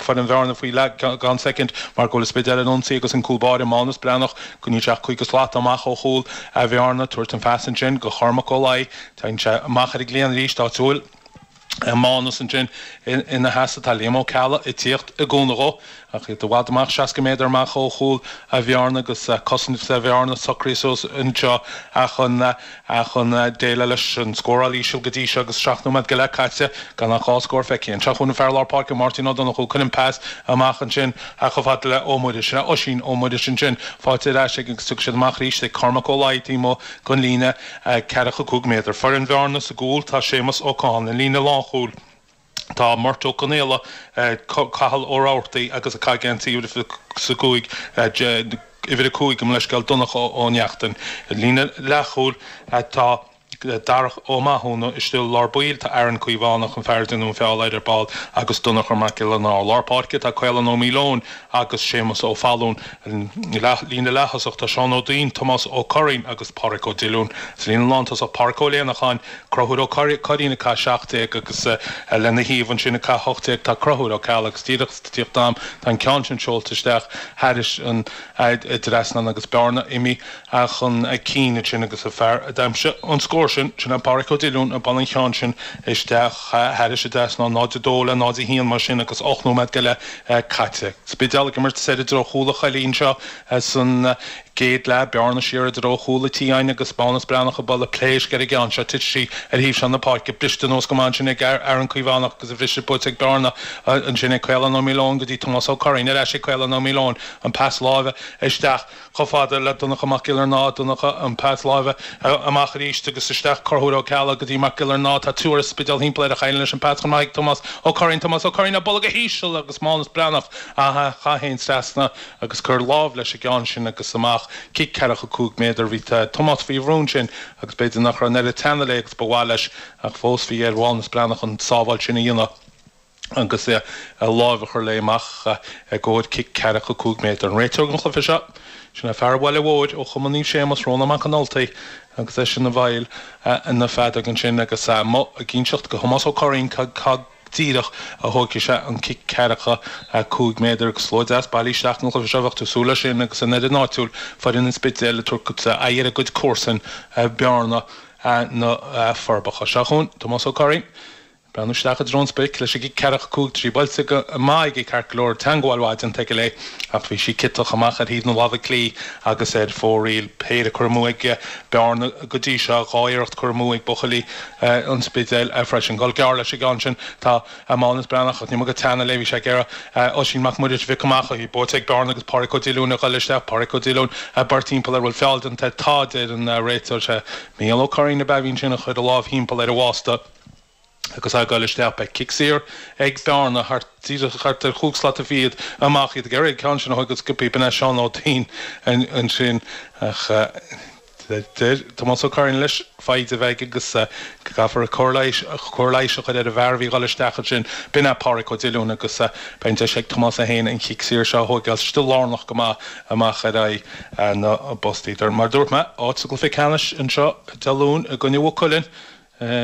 foireann Bhearna faoi leath gan soicind mar go bhfuil an Spidéal ar an ionsaí agus an cúl báire Mánus Breathnach go níl sé ach 50 slat amach ó chúl Bhearna. Tabhairt an phas ansin go Chormac Ó Laoi. Téann sé amach ar an gcliathán arís áit a bhfuil Mánus ansin ina sheasamh. Tá Liam Ó Ceallaigh ag tíocht i gcúnamh dhó ach iad i bhfad amach, 60 méadar amach ó chúl Bhearna agus cosaint Bhearna socraithe suas anseo chun chun déileáil leis an scóráil íseal go dtí seo agus 7 nóiméad go leith caite gan ach 2 scór feicthe. Anseo chugainn an fear lár páirce Máirtín Ó Donnchú. Cuireann an pas amach ansin chomh fada le Ó Muiris. Sin é Oisín Ó Muiris ansin. Faighte ar ais aige agus tiocfaidh siad amach arís ag Cormac Ó Laoi taobh amuigh den líne ceathracha 5 méadar. Foireann Bhearna sa gcúl tá Séamus Ó Catháin. An líne lánchúil tá Murt Ó Conaola, Cathal Ó Rabhartaigh agus ag caitheamh geansaí uimhir 5, uimhir 5 gabh mo leithscéal, Donncha Ó Neachtain. An líne leathchúil tá Darach Ó Mathúna istigh i lár baill, tá Aaron Caomhánach, an fear a déanadh an feall air ar ball, agus Donncha Mac Giolla Ná. Lár páirce tá Caolán Ó Maoileoin agus Séamus Ó Fallúin. Líne leath-thosach tá Seán Ó Duinn, Tomás Ó Curraoin agus Páraic Ó Diolúin. Sa líne lántosach Páraic Ó Léanacháin, Conchúr Ó Curraoin ag caitheamh 17 agus lena thaobh ansin ag caitheamh 18 tá Conchúr Ó Ceallaigh agus díreach ag tíocht dom tá an ceann sin seolta isteach thairis an dtrasnán agus Bearna imithe chun cinn ansin agus an fear a d'aimsigh an scór sin, sin é Páraic Ó Diolúin a bhuail an ceann sin isteach thairis an dtrasnán, 0-2 le 0-1 mar sin agus 8 nóiméad go leith caite. Spidéal ag imirt soir i dtreo chúl an Choillidh anseo san gcéad leath, Bearna siar i dtreo chúl an tí againn agus Mánus Breathnach ag bualadh pléisc ar an gceann seo. Titfidh sí ar thaobh seo na páirce. Briste anuas go maith ansin ag Aaron Caomhánach agus an bhriseadh buailte ag Bearna ansin ag Caolán Ó Maoileoin go dtí Tomás Ó Curraoin. Ar ais ag Caolán Ó Maoileoin. An pas láimhe isteach. Chomh fada le Donncha Mac Giollarnáth, Donncha, an pas láimhe amach arís agus isteach Conchúr Ó Ceallaigh go dtí Mac Giollarnáth. Tá triúr as an Spidéal thimpeall air ach éiríonn leis an pas chun maith ag Tomás Ó Curraoin. Tomás Ó Curraoin ag bualadh go híseal agus Mánus Breathnach a chaith féin trasna agus cur lámh leis an gceann sin agus amach. Cic ceathracha 5 méadar. Bhí Tomás faoi bhrú ansin agus b'fhéidir nach raibh an oiread teanna léi agus ba mhaith leis ach fós bhí ar Mhánus Breathnach an tsábháil sin a dhéanamh. agus a láimh a chur léi amach i gcomhair cic ceathracha 5 méadar. An réiteoir don chluiche seo, sin é fear an Bhaile Mhóir ó Chumann Naomh Séamus, Rónán Mac an Ultaigh, agus eisean a bhfeighil na feadóg ansin agus é amuigh ag inseacht go Thomás Ó Curraoin cad go díreach a thógfaidh sé an cic ceathracha 5 méadar agus slua deas bailithe isteach don chluiche seo, bheadh tú ag súil leis sin agus an fhoireann áitiúil, foireann an Spidéil, ag tabhairt aghaidh ar a gcuid comharsan, Bearna, na Forbacha. Seo chugainn Tomás Ó Curraoin. Breathnú isteach i dtreo an sprioc leis an gcic ceathracha 5 tá sí buailte go maith aige ceart go leor, teangmháil mhaith déanta aige léi ach bhí sí ciotach amach ar thaobh na láimhe clí agus ar fóraoil. Péire curtha amú ag Bearna go dtí seo, 2 iarracht curtha amú ag buachaillí an Spidéil freisin. Dul gearr leis an gceann sin tá Mánus Breathnach ach ní maith go teanna léi, bhí sé ag iarraidh Oisín Mac Muiris a phiocadh amach ach í buailte ag Bearna agus Páraic Ó Diolúin ag dul isteach. Páraic Ó Diolúin ag beirt timpeall air, bhfuil feall déanta air? Tá, deir an réiteoir. Sé Mícheál Ó Curraoin ab ea a bhí ansin a chuir a lámh thimpeall ar a bhásta. Agus é ag dul isteach, beidh cic saor ag Bearna thart díreach thart ar chúig slata fichead amach, iad ag iarraidh an ceann sin a thógáil go sciobtha. B'in é Seán Ó Duinn ansin ach deir Tomás Ó Curraoin leis foighid a bheith aige agus go gcaithfear cóir leighis cóir leighis a chur ar an bhfear a bhí ag dul isteach ansin. B'in é Páraic Ó Diolúin agus beidh an deis ag Tomás é féin an chic saor seo a thógáil istigh lárnach go maith amach ar aghaidh na bpostaí. Mar a dúirt mé, áit sa gcluiche ceannais anseo Dé Luain i gcoinne Mhaigh Cuilinn.